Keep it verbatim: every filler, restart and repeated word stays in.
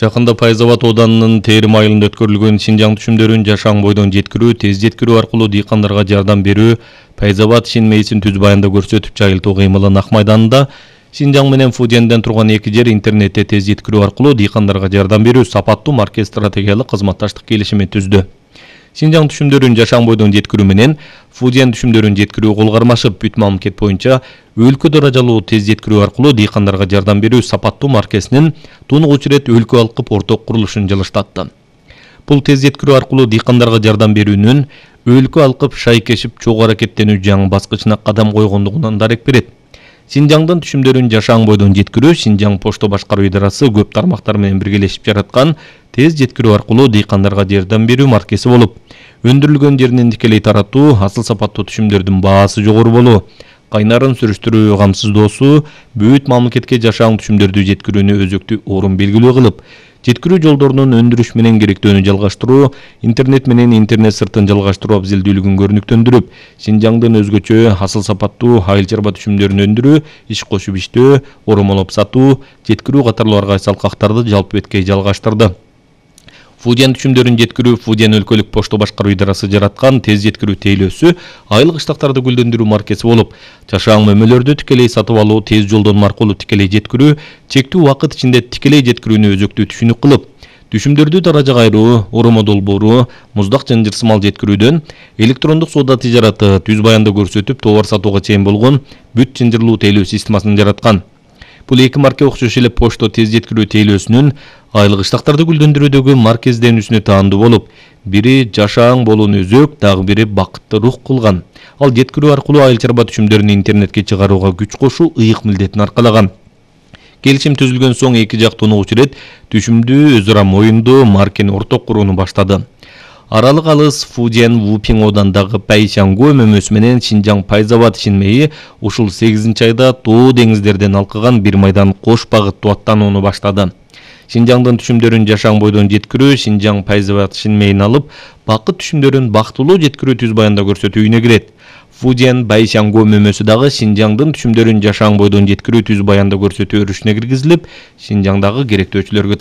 Жакында Пайзабад ооданынын Терим айылында өткөрүлгөн Шинжаң түшүмдөрүн жашаң бойдон жеткирүү, тез жеткирүү аркылуу дыйкандарга жардам берүү, Пайзабад Шин мейисин түз баянда көрсөтүп жайылтуу кыймылын Ак майданында Шинжаң менен Фудиенден турган эки жер интернетте тез жеткирүү аркылуу дыйкандарга жардам берүү сапаттуу маркез стратегиялык кызматташтык келишими түздү. Шинжаң түшүмдөрүн жашаң бойдон жеткирүү менен Фудиен түшүмдөрүн жеткирүү кол кармашып, бүт мамлекет боюнча өлкө даражалуу тез жеткирүү аркылуу дыйкандарга жардам берүү сапаттуу маркезинин тунугуч ирет өлкө алкып орток курулушун жылыштатты. Бул тез жеткирүү аркылуу дыйкандарга жардам берүүнүн өлкө алкып шайкешип чогуу аракеттенүү жаңы баскычына кадам койгондугунан дарек берет. Шинжаңдын түшүмдөрүн жашаң бойдон жеткирүү Шинжаң Почто башкаруу идарасы көп тармактар менен биргелешип жараткан тез жеткирүү аркылуу дыйкандарга жардам берүү маркези болуп, өндүрүлгөн жеринен тикелей таратуу, асыл сапаттуу түшүмдөрдүн баасы жогору болуу, кайнарын сүрүштүрүү камсыздоосу бүт мамлекетке жашаң түшүмдөрдү жеткирүүнү өзөктүү орун белгилүү кылып, жеткирүү жолдорунун өндүрүш менен керектөөнү жалгаштыруу, интернет менен интернет сыртын жалгаштыруу абзелдүүлүгүн көрүнүктөндүрүп, Шинжаңдын өзгөчө асыл сапаттуу айыл чарба түшүмдөрүн өндүрүү, иш кошуп иштөө, оромолоп сатуу, жеткирүү катарлуу ар кайсы алкактарды жалпы беткей жалгаштырды. Фудиен түшүмдөрүн жеткирүү Фудиен өлкөлүк Почто башкаруу идарасы жараткан тез жеткирүү тейлөөсү айыл кыштактарды гүлдөндүрүү маркези болуп, жашаң мөмөлөрдү тикелей сатып алуу, тез жолдон аркылуу тикелей жеткирүү, чектүү убакыт ичинде тикелей жеткирүүнү өзөктүү түшүнүк кылып, түшүмдөрдү даражага айыруу, оромо долбоору, муздак жана жырсымал жеткирүүдөн электрондук соода тижараты түз баянда көрсөтүп товар сатууга чейин болгон бүт чынжырлуу тейлөө системасын жараткан. Бул эки марке окшош эле Почто тез жеткирүү тейлөөсүнүн айыл кыштактарды гүлдөндүрүүдөгү маркезденүүсүнө таандуу болуп, бири жашаң болууну өзөк, дагы бири бакытты рух кылган. Ал жеткирүү аркылуу айыл чарба түшүмдөрүн интернетке чыгарууга күч кошуу ыйык милдетин аркалаган. Келишим түзүлгөн соң эки жак тунугуч ирет түшүмдүү өзү ара моюндуу маркени орток курууну баштады. Аралык алыс Фудиен Вупиң оодандагы Пайшангу мөмөсү менен Шинжаң Пайзабад Шин мейи ушул сегизинчи айда Тоо деңиздерден алкыган бир майдан кош багыттуу аттанууну баштады. Шинжаңдын түшүмдөрүн жашаң бойдон жеткирүү Шинжаң Пайзабад Шин мейин алып, бакыт түшүмдөрүн бактылуу жеткирүү түз баянда көрсөтүүнө кирет. Фудиен Пайшангу мөмөсү дагы Шинжаңдын түшүмдөрүн жашаң бойдон жеткирүү түз баянда көрсөтүү өрүшүнө киргизилип, Шинжаңдагы керектөөчүлөргө